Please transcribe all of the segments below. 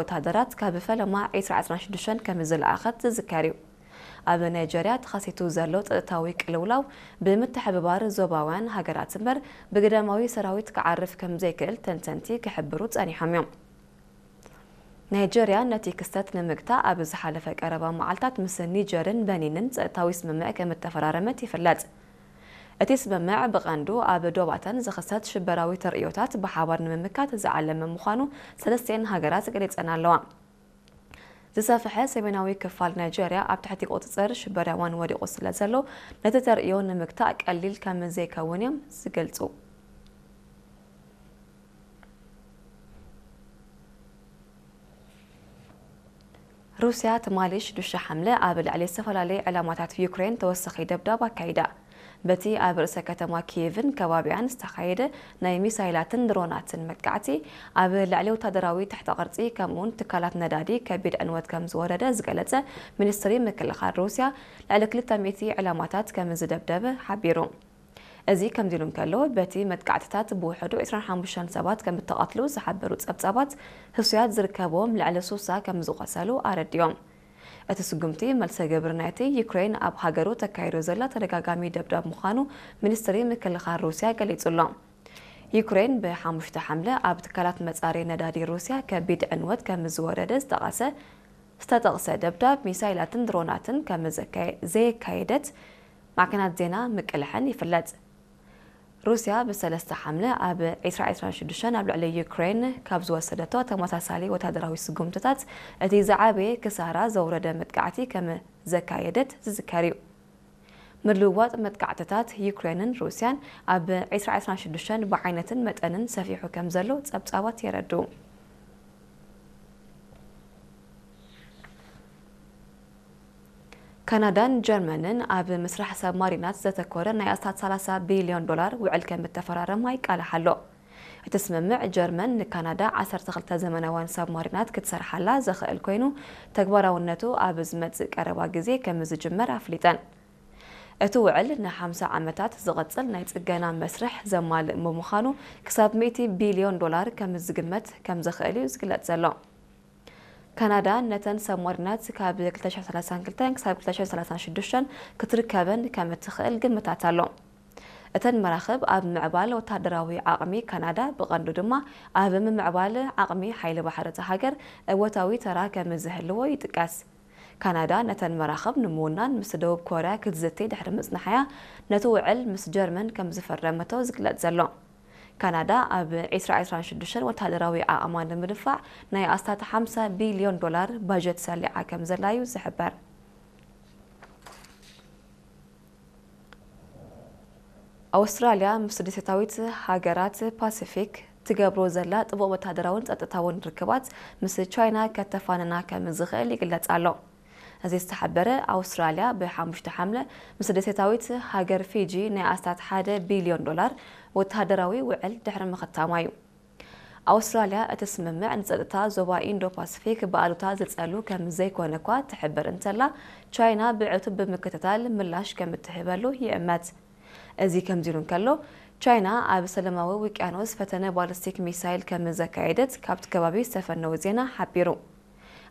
ወታደራት ካብ ፈለማ ዕስራ ዕስራን ሽዱሽተን ከም ዝለኣኸት ዝዝከር እዩ። ኣብ ናይጀርያ ተኸሲቱ ዘሎ ጸጥታዊ ቅልውላው ብምትሕብባር ዞባውያን ሃገራት እምበር ብግዳማዊ ሰራዊት ክዓርፍ ከም ዘይክእል ተንተንቲ ክሕብሩ ጸኒሖም እዮም። ናይጀርያ ነቲ ክስተት ንምግታእ ኣብ ዝሓለፈ ቀረባ መዓልታት ምስ ኒጀርን በኒንን ጸጥታዊ ስምምዕ ከም እተፈራረመት ይፍለጥ። እቲ ስምምዕ ብቐንዱ ኣብ ዶባተን ዝኽሰት ሽበራዊ ተርእዮታት ብሓባር ንምምካት ዝዓለመ ምዃኑ ሰለስቲኤን ሃገራት ገሊጸን ኣለዋ። ዝሰፍሐ ሰሜናዊ ክፋል ናይጀርያ ኣብ ትሕቲ ቁጽጽር ሽበራውያን ወዲቑ ስለ ዘሎ፣ ነቲ ተርእዮ ንምግታእ ቀሊል ከም ዘይከውን እዮም ዝገልጹ። ሩስያ ትማሊ ሽዱሽተ ሓምለ ኣብ ልዕሊ ዝተፈላለዩ ዕላማታት ዩክሬን ተወሳኺ ደብዳብ ኣካይዳ። በቲ ኣብ ርእሰ ከተማ ኪየቭን ከባቢኣን ዝተኻየደ ናይ ሚሳይላትን ድሮናትን መጥቃዕቲ፣ ኣብ ልዕሊ ወታደራዊ ትሕተ ቅርጺ ከምኡውን ትካላት ነዳዲ ከቢድ ዕንወት ከም ዝወረደ ዝገለጸ ሚኒስትሪ ምክልኻል ሩስያ፣ ልዕሊ ክልተ ሚእቲ ዕላማታት ከም ዝደብደበ ሓቢሩ። እዚ ከምዚ ኢሉ እንከሎ፣ በቲ መጥቃዕትታት ብውሕዱ ዕስራን ሓሙሽተን ሰባት ከም እተቐትሉ ዝሓበሩ ጸብጻባት፣ ህሱያት ዝርከብዎም ልዕሊ ሱሳ ከም ዝቖሰሉ ኣረዲኦም። እቲ ስጉምቲ መልሰ ግብሪ ናይቲ ዩክሬን ኣብ ሃገሩ ተካይዶ ዘላ ተደጋጋሚ ደብዳብ ምዃኑ ሚኒስትሪ ምክልኻል ሩስያ ገሊጹ ኣሎ። ዩክሬን ብሓሙሽተ ሓምለ ኣብ ትካላት መጻረዪ ነዳዲ ሩስያ ከቢድ ዕንወት ከም ዝወረደ ዝጠቐሰ ዝተጠቕሰ ደብዳብ ሚሳይላትን ድሮናትን ከም ዘካየ-፣ ዘየካየደት ማዕከናት ዜና ምቅልሐን ይፍለጥ። ሩስያ ብሰለስተ ሓምለ ኣብ ዕስራ ዕስራን ሽዱሽተን ኣብ ልዕሊ ዩክሬን ካብ ዝወሰደቶ ተመሳሳሊ ወታደራዊ ስጉምትታት እቲ ዝዓበየ ክሳራ ዘውረደ መጥቃዕቲ ከም ዘካየደት ዝዝከር እዩ። ምልውዋጥ መጥቃዕትታት ዩክሬንን ሩስያን ኣብ ዕስራ ዕስራን ሽዱሽተን ብዓይነትን መጠንን ሰፊሑ ከም ዘሎ ጸብጻባት የረድኡ። ካናዳን ጀርመንን ኣብ ምስራሕ ሳብማሪናት ዘተኮረ ናይ ኣስታት ሰላሳ ቢልዮን ዶላር ውዕል ከም እተፈራረማ ይቃላሕ ኣሎ። እቲ ስምምዕ፣ ጀርመን ንካናዳ ዓሰርተ ክልተ ዘመናውያን ሳብማሪናት ክትሰርሓላ ዘኽእል ኮይኑ፣ ተግባራውነቱ ኣብ ዝመጽእ ቀረባ ግዜ ከም ዝጅመር ኣፍሊጠን። እቲ ውዕል ንሓምሳ ዓመታት ዝቕጽል ናይ ጽገና መስርሕ ዘማልእ ብምዃኑ፣ ክሳብ ሚእቲ ቢልዮን ዶላር ከም ዝግመት ከም ዝኽእል እዩ ዝግለጽ ዘሎ። ካናዳ ነተን ሳብማሪናት ካብ ክልተ ሽሕን ሰላሳን ክልተን ክሳብ ክልተ ሽሕን ሰላሳን ሽዱሽተን ክትርከበን ከም እትኽእል ግምታት ኣሎ። እተን መራኽብ ኣብ ምዕባል ወታደራዊ ዓቕሚ ካናዳ፣ ብቐንዱ ድማ ኣብ ምምዕባል ዓቕሚ ሓይሊ ባሕሪ እታ ሃገር እወታዊ ተራ ከም ዝህልዎ ይጥቀስ። ካናዳ ነተን መራኽብ ንምውናን ምስ ደቡብ ኮርያ ክትዝቲ ድሕሪ ምጽናሓያ፣ ነቲ ውዕል ምስ ጀርመን ከም ዝፈረመቶ ዝግለጽ ዘሎ። ካናዳ ኣብ ዕስራ ዕስራን ሽዱሽተን ወታደራዊ ዓቕማ ንምድንፋዕ ናይ ኣስታት ሓምሳ ቢልዮን ዶላር ባጀት ሰሊዓ ከም ዘላ እዩ ዝሕበር። ኣውስትራልያ ምስ ደሴታዊት ሃገራት ፓሲፊክ ትገብሮ ዘላ ጥቡቕ ወታደራውን ጸጥታውን ርክባት ምስ ቻይና ከተፋንና ከም ዝኽእል ይግለጽ ኣሎ። እዚ ዝተሓበረ፣ ኣውስትራልያ ብሓሙሽተ ሓምለ ምስ ደሴታዊት ሃገር ፊጂ ናይ ኣስታት ሓደ ቢልዮን ዶላር ወተሃደራዊ ውዕል ድሕሪ ምኽታማ እዩ። ኣውስትራልያ እቲ ስምምዕ ንጸጥታ ዞባ ኢንዶ ፓሲፊክ ብኣሉታ ዝጸሉ ከም ዘይኮነ እኳ ትሕብር እንተላ፣ ቻይና ብዕቱብ ብምክትታል ምላሽ ከም እትህበሉ ይእመት። እዚ ከምዚ ኢሉ እንከሎ፣ ቻይና ኣብ ሰላማዊ ውቅያኖስ ፈተነ ባሊስቲክ ሚሳይል ከም ዘካየደት ካብቲ ከባቢ ዝተፈነወ ዜና ሓቢሩ።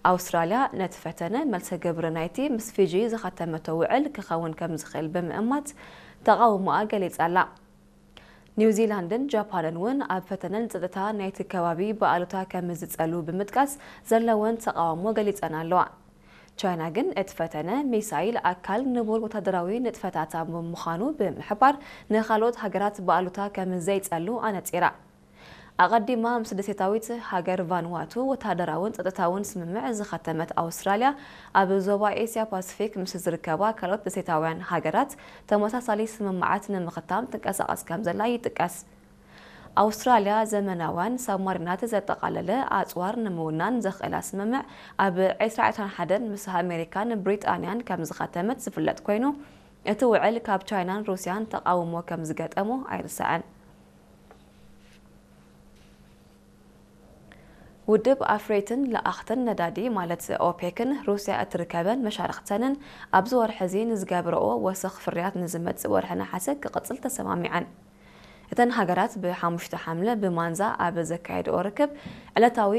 ኣውስትራልያ ነቲ ፈተነ መልሰ ግብሪ ናይቲ ምስ ፊጂ ዝኸተመቶ ውዕል ክኸውን ከም ዝኽእል ብምእማት ተቓውሞኣ ገሊጻ ኣላ። ኒውዚላንድን ጃፓንን እውን ኣብ ፈተነ ንጸጥታ ናይቲ ከባቢ ብኣሉታ ከም ዝጸሉ ብምጥቃስ ዘለወን ተቓውሞ ገሊጸን ኣለዋ። ቻይና ግን እቲ ፈተነ ሚሳይል ኣካል ንቡር ወታደራዊ ንጥፈታታ ብምዃኑ ብምሕባር፣ ንኻልኦት ሃገራት ብኣሉታ ከም ዘይጸሉ ኣነጺራ። ኣቐዲማ ምስ ደሴታዊት ሃገር ቫንዋቱ ወተሃደራውን ጸጥታውን ስምምዕ ዝኸተመት ኣውስትራልያ፣ ኣብ ዞባ ኤስያ ፓሲፊክ ምስ ዝርከባ ካልኦት ደሴታውያን ሃገራት ተመሳሳሊ ስምምዓት ንምኽታም ትንቀሳቐስ ከም ዘላ ይጥቀስ። ኣውስትራልያ ዘመናውያን ሳብማሪናት ዘጠቓለለ ኣጽዋር ንምውናን ዘኽእላ ስምምዕ ኣብ ዕስራ ዕስራን ሓደን ምስ ኣሜሪካን ብሪጣንያን ከም ዝኸተመት ዝፍለጥ ኮይኑ፣ እቲ ውዕል ካብ ቻይናን ሩስያን ተቓውሞ ከም ዝገጠሞ ኣይርሳዕን። ውድብ ኣፍረይትን ለኣኽትን ነዳዲ ማለት ኦፔክን ሩስያ እትርከበን መሻርኽተንን ኣብዚ ወርሒ እዚ ንዝገብረኦ ወሰኽ ፍርያት ንዝመጽእ ወርሒ ነሓሰ ክቕጽል ተሰማሚዐን። እተን ሃገራት ብ5 ሓምለ ብማንዛ ኣብ ዘካየድኦ ርክብ ዕለታዊ